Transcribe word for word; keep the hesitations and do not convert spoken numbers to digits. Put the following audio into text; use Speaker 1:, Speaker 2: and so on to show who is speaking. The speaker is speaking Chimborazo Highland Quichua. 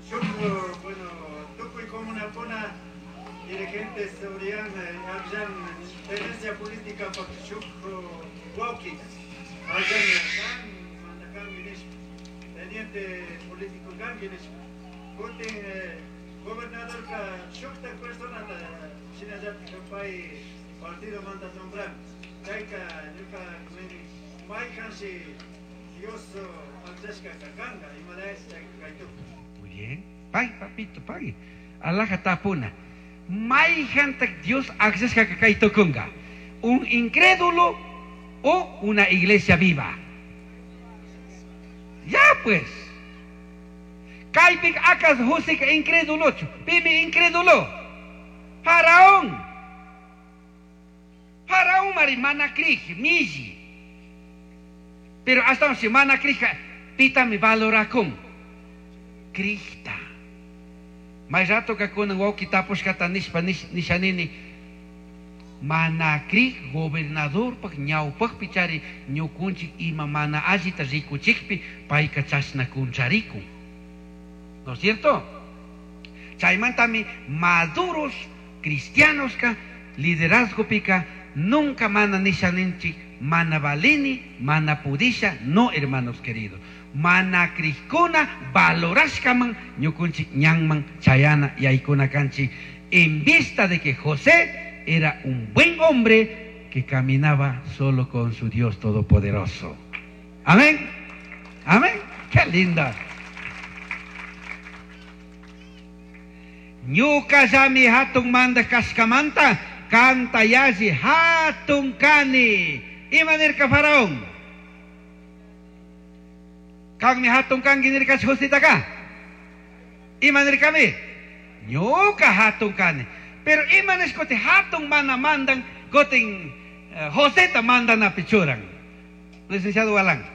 Speaker 1: Shuk, bueno, tukuy comunakuna dirigentes urian akllan tenencia política pak shuk wawkita. Akllan kan mandakanki nishpa. Teniente político kanki nishpa. Kutin gobernadorka shuktak personata shinallatik pay partido manta nombran. Chayka ñuka nini maykanshi Dios akllashka kanka imalayash chayka kaytukun.
Speaker 2: Muy bien. Pay, papito, pay. Alaja tapuna. Mayhantak Dios akllashka kaytukunka. Un incrédulo o una iglesia viva. Ya pues. Kaypik akas Joseka incrédulochu. Pimi incrédulo. Faraón. Faraón mari mana crij, milli. Pero hasta si mana crija, pitami valorakun. Crijta. May rato kakunan wawki tapushkata nishpa nishanini. Mana crij gobernadorpak ñawpakpi chari ñukunchik ima mana allita rikuchikpi payka chashna kuncharikun. ¿No es cierto? Chaymantami maduros cristianos ka liderazgo pika nunca mana nishaninchik mana valini mana pudisha, no, hermanos queridos. Mana crijkuna valorashkaman ñukunchik ñanman chayana yaykuna kanchik en vista de que José era un buen hombre que caminaba solo con su Dios Todopoderoso. Amén. Amén. Qué linda. Ñuqallami hatun mandaq kashkamanta kanta yalli hatun kani. Ima nirka faraón? Kanmi hatun kanki nirkachu Josetaqa? Ima nirkami? Ñuqa hatun kani. Pero ima nishkuti hatun mana mandan kutin Joseta mandanapi churan. Licenciado Galán.